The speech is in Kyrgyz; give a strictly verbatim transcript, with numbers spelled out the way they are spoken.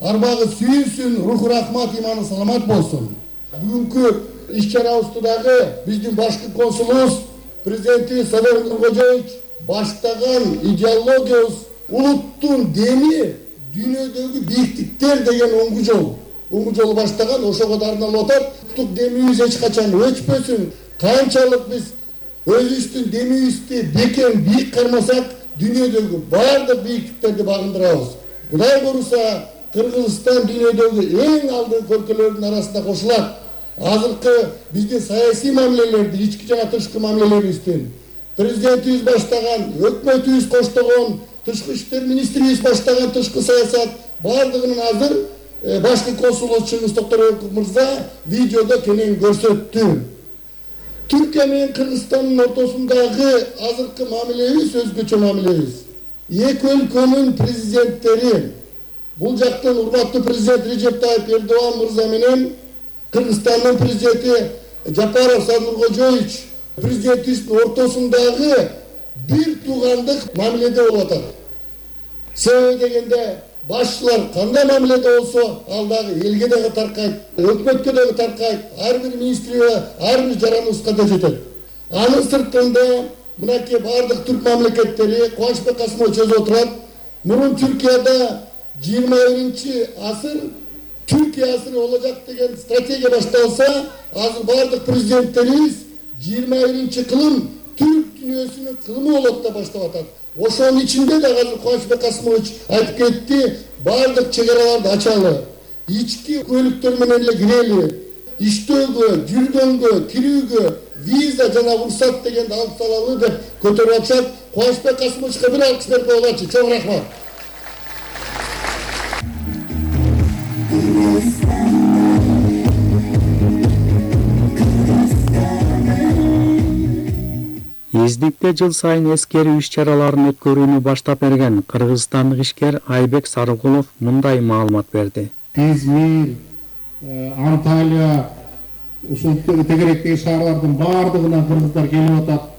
арбагы сүйүнсүн, руху рахмат, иманы саламат болсун. Бүгүнкү иш-чарабызды дагы биздин башкы консулубуз президенти Садыр Нуркожоевич баштаган идеологиябыз улуттун деми дүйнөдөгү бийиктиктер деген оңгу жол. Оңгу жолу баштаган, ошого да арналып атат. Улуттук демибиз эч качан өчпөсүн. Канчалык биз өзүбүздүн демибизди бекен бийик кармасак, дүйнөдөгү бардык бийиктиктерди багындырабыз. Кудай буюрса, Кыргызстан дүйнөдөгү эң алдыңкы өлкөлөрдүн арасында кошулат. Азыркы биздин саясий мамилелерди, ички жана тышкы мамилелерибиздин президентибиз баштаган, өкмөтүбүз коштогон, тышкы иштер министрибиз баштаган тышкы саясат бардыгынын азыр башкы консулубуз Чыңгыз Токторбеков мырза видеодо кенен көрсөттү. Түркия менен Кыргызстандын ортосундагы азыркы мамилебиз өзгөчө мамилебиз. Эки өлкөнүн президенттери, бул жактан урматтуу президент Режеп Тайып Эрдоган мырза менен Кыргызстандын президенти Жапаров Садыр Нуркожоевич президентибиздин ортосундагы бир туугандык мамиледе болуп атат. Себеби дегенде башчылар кандай мамиледе болсо, ал дагы элге дагы таркайт, өкмөткө дагы таркайт, ар бир министрге, ар бир жараныбызга да жетет. Анын сыртында мынакей бардык түрк мамлекеттери Кубанычбек Касымович өзү отурат. Мурун Түркияда жыйырма биринчи асыр Түркия асыры болacak деген стратегия башталса, азыр бардык президенттерибиз жыйырма биринчи кылым түрк дүйнөсүнүн кылымы болот деп баштап атат. Ошонун ичинде да азыр Кубанычбек Касымович айтып кетти, бардык чек араларды ачалы, ички көлүктөр менен эле кирели, иштөөгө, жүргөнгө, кирүүгө виза жана уруксат дегенди алып салалы деп көтөрүп атышат. Кубанычбек Касымовичке бир алкыш берип коелучу. Чоң рахмат. Издикте жыл сайын эскерүү иш-чараларын өткөрүүнү баштап берген кыргызстандык ишкер Айбек Сарыкулов мындай маалымат берди. Измир, Анталия, ушул тегеректеги шаарлардын бардыгына кыргыздар келип атат.